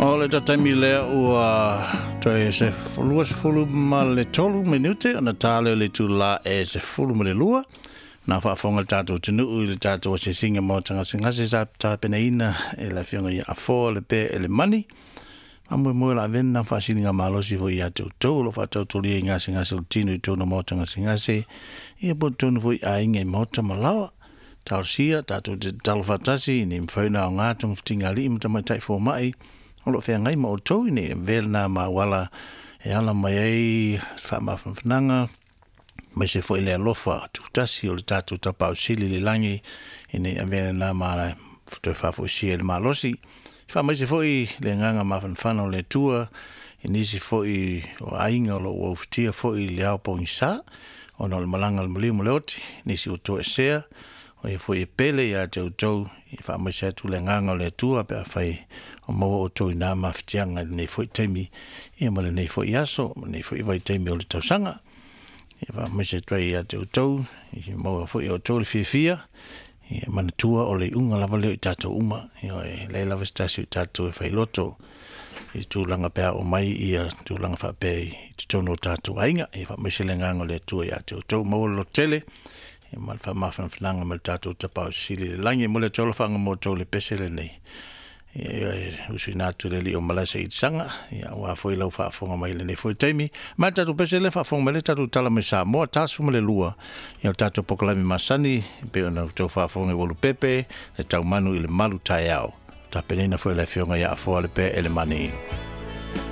O le taimi lea ua toe se 23 minute ona ta lea o le itulā e 12. Na faafofoga le tatou atunuu i le tatou asiasiga maota gasegase sa tapenaina e le Afioga ia Afoa le Pea Elemani. Faamoemoe o le a avea lena faasiliga malosi foi ia te outou o lo o faatautolia i gasegase o le tino i totonu o maota gasegase, ia po o totonu foi i aiga i maota ma laoa. Talosia, tatou te tatalo faatasi ina ia mafai ona aoga togafitiga a alii ma tamaitai fomai o lo o feagai ma outou ina ia avea lena ma auala e ala mai ai faamafanafanaga aemaise foi le alofa tutasi o le tatou Tapaau Sili i le lagi ina ia avea lena ma toe faafoisia le malosi. Faamaise foi le agaga mafanafana o le Atua i nisi foi o aiga o lo o ua ufitia foi i le ao pogisa ona o le malaga a le maliu ma le oti, nisi ua toesea, o e foi e pele ia te outou, e faamaise atu le agaga o le Atua pe afai o maua outou i na mafatiaga i lenei foi taimi, ia ma lenei foi aso, ma lenei foi vaitaimi o le tausaga. Ia faamaise atu ai ia te outou, ia maua foi e outou le fiafia, ia manatua o le iuga lava lea o i tatou uma. Ioe, e leai lava se tasi o i tatou e failoto i tulaga pe a oo mai ia tulaga faapea i totonu o tatou aiga. Ia faamaise le agaga o le Atua ia te outou, maua le lototele ma le faamafanafanaga mai le tatou Tapaau Sili i le lagi. E momoli atu ai alofaga mo outou i le pese lenei, e usuina atu i le alii o Malaesa Saga, aua foi lau faafofoga mai i lenei foi taimi. Ma le tatou pese lea, faafofoga mai le tatou tala mai Samoa, 42, ia o tatou polokalame masani, e pei ona outou faafofoga i Ualupepe, le taumanu i le malu taeao. Tapenaina foi e le Afioga ia Afoa le Pea Elemani.